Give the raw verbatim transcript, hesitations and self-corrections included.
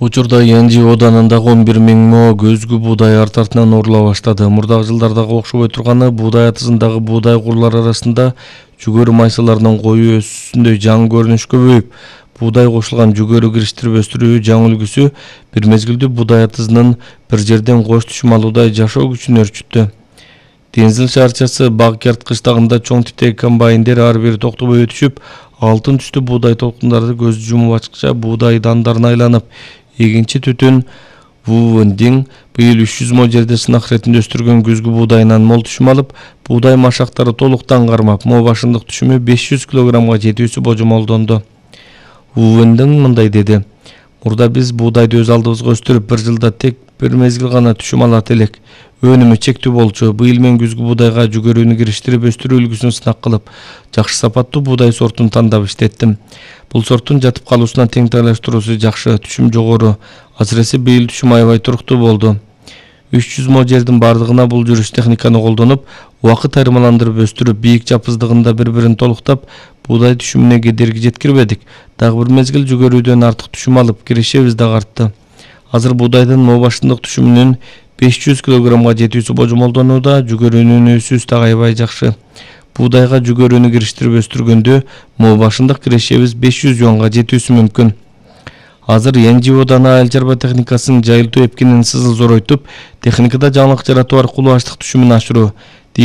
Учурда Янжи оданындагы он бир миң мо көзгү буудай арт артынан оорула баштады. Мурдагы жылдардагы окшобой турганы буудай атызындагы буудай курлар арасында жүгөрү майсаларынын коюу өсүүсүндөй жаңы көрүнүш көбөйүп, буудай кошулган жүгөрү кириштирип өстүрүү жаңы үлгүсү бир мезгилде буудай атызынын бир жерден кош түшүм алуудай жашоо күчүн өрчүттү. Деңизил шаарчасы Багкерт кыштагында чоң типтеги комбайндер ар бири токтобой өтүшүп, алтын түстүү буудай толкундарды көз жумуп ачкыча буудай дандарын айланып, эгинчи түтүн Вувендин быйыл үч жүз мо жерде сынак иретинде өстүргөн күзгү буудайынан мол түшүм алып, буудай машактары толуктан кармап, мо башындык түшүмү беш жүз килограммга жетүүсү божомолдонду. Вувендин мындай деди: "Мурда биз буудайды өз алдыбызга өстүрүп, бир жылда тек бир мезгил гана түшүм алат элек. Өнүмү чектүү болчу. Быйыл мен күзгү буудайга жүгөрүүнү кириштирип өстүрүү үлгүсүн сынак кылып, жакшы сапаттуу буудай сортун тандап иштеттим. Бул сорттун жатып калуусуна тең тайлаштыруусу жакшы, түшүм жогору. Азыресе быйыл түшүм аябай туруктуу болду. үч жүз мо жердин бардыгына бул жүрүш техниканы колдонуп, убакыт айырмаландырып өстүрүп, бийик жапыздыгында бири-бирин толуктап, буудай түшүмүнө кедерги жеткирбедик. Дагы бир мезгил жүгөрүүдөн артык түшүм алып, кирешебиз дагы артты. Азыр буудайдын мо башындык түшүмүнүн беш жүз килограммга жетүүсү божомолдонууда, жүгөрүүнүн өсүүсү да аябай жакшы. Буудайга жүгөрүүнү кириштирип өстүргөндө мо башындык кирешебиз беш жүз юанга жетүүсү мүмкүн. Азыр Янжи оданы айыл чарба техникасынын жайылтуу эпкинин сызыл зоройтуп, техникада жаңылык жаратуу аркылуу аштык түшүмүн ашыруу,